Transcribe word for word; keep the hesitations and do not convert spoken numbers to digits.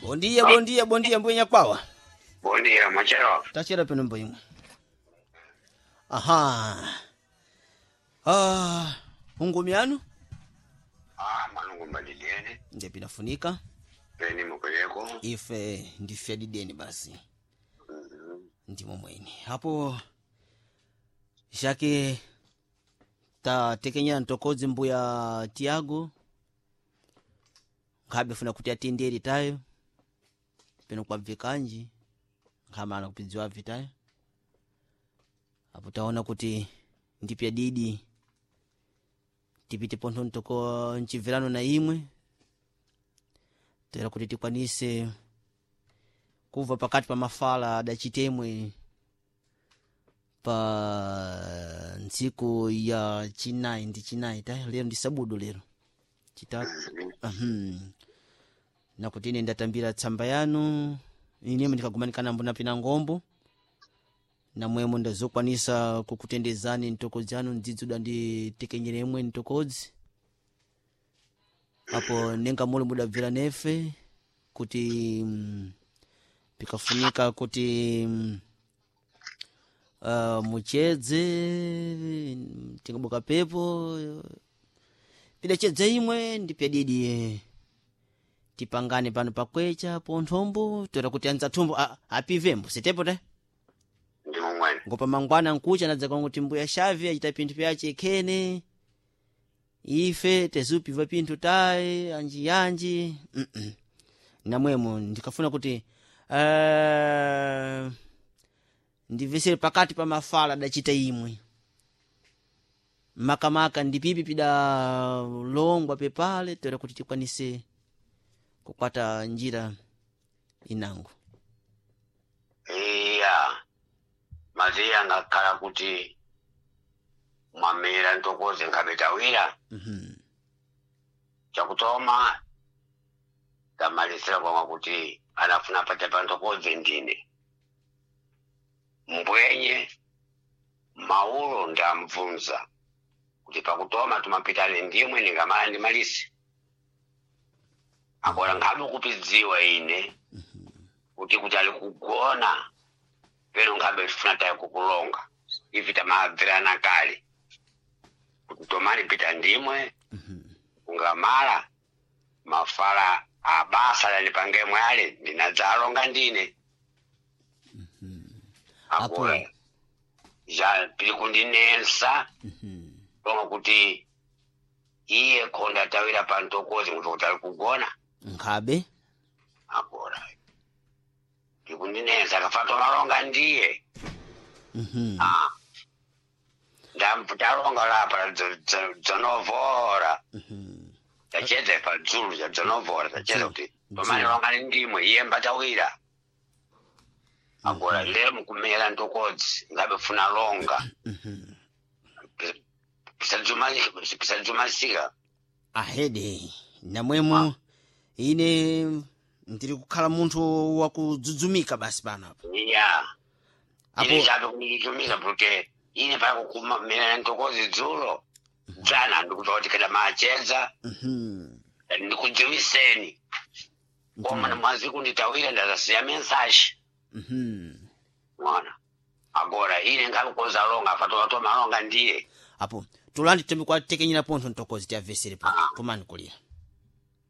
Bom dia, bom dia, bom dia, mbuya nyakwawa. Bom dia, mwachero. Tachera peno mbuya. Aha. Ah, ungumi yanu Ah, mwanangu mbadiliene. ndiye pinafunika Peni mukuleko. ife ndife dideni basi ndimo mwene hapo shake tatekenyera ntokodzi mbuya Tiago nkhabe funa kuti atendere tayo peno kwabvekanji nkhamana kupidziwa vitayo apo taona kuti ndipya didi tipite pontho ntoko mchibverano na imwe tera kuti tikwanise kubva pakati pa mafala adachitemwe pa ntsiku ya chinayi ndi chinayi ta lero ndi sabudu lero chitatu uhum. Nakuti ine ndatambira tsamba yanu inemo ndikagumanikana mbona pina ngombo namwemo ndazokwanisa kukutendezani ntokodzi anu ndzidzuda nditekenyeremwe ntokodzi apo nenga muli mudabvera nefe kuti mm, pikafunika kuti mm, uh, muchedze mm, tingabuka pepo pidachedze imwe ndipyadidi tipangane pano pakwecha ponthombo toera kuti anza thumbo a- apivembo sitepo te Ndimo mwene. ngopa mangwana nkucha nadza kwangu mbuya shavi achita pinthu pyache khene ife tezupiva pinthu tayi anji yanji mm -mm. Namwemo ndikafuna kuti uh, ndivesere pakati pa mafala adachita imwe makamaka ndipipi pidalongwa pepale toera kuti tikwanise kukwata njira inango. Iya. Maziya ngakhala kuti mwamira ntokoze nkhabetawira. mm -hmm. Chakutoma tamalisira kwamwa kuti anafuna pate pa ntokoze ndine. Mbwenye maulo ndamvunza kuti pakutoma tumapitane ndimwe ndingamala ndimalise. Agora nkhabe kupidziwa ine kuti kuti ali kugona peno nkhabe tifuna tayi kukulonga ivi tamabvirana kale kuti tomani pita ndimwe Mm -hmm. kungamala mafala abasa lanipangemwe ale ndinadzalonga ndine. Apo Agora ja pili kundinensa mm -hmm. longa kuti iye khonda atawira pa ntokozi kuti kuti ali kugona. Nkhabe Agora ndikundinensa akafa tomalonga ndiye. mm -hmm. Ah, ndamputalonga lapa dzonovora Mm -hmm. tachedza pa dzulu cha dzonovora tachedza Dzulo kuti dzulo tomalonga ni ndimwe iye mbatawira. Agora lero mukumera ntokodzi ngabe funa longa mm -hmm. pisadzumasika. Ahede namwemo ine ndiri kukhala munthu wakudzudzumika basi pano apa Iya, ine apo chabe kundichumiza porque ine pakukumera ntokodzi dzulo dzana ndikuti kuti kada machedza mhm ndikudziwiseni koma ndimo namwazi kunditawira ndazasiya mensashi mhm mwana. Agora ine ngakukoza longa afatoa malonga ndiye. Apo tulandi tembe kwatekenyera pontho ntokozi tiavesere po Ah. tumani kulira.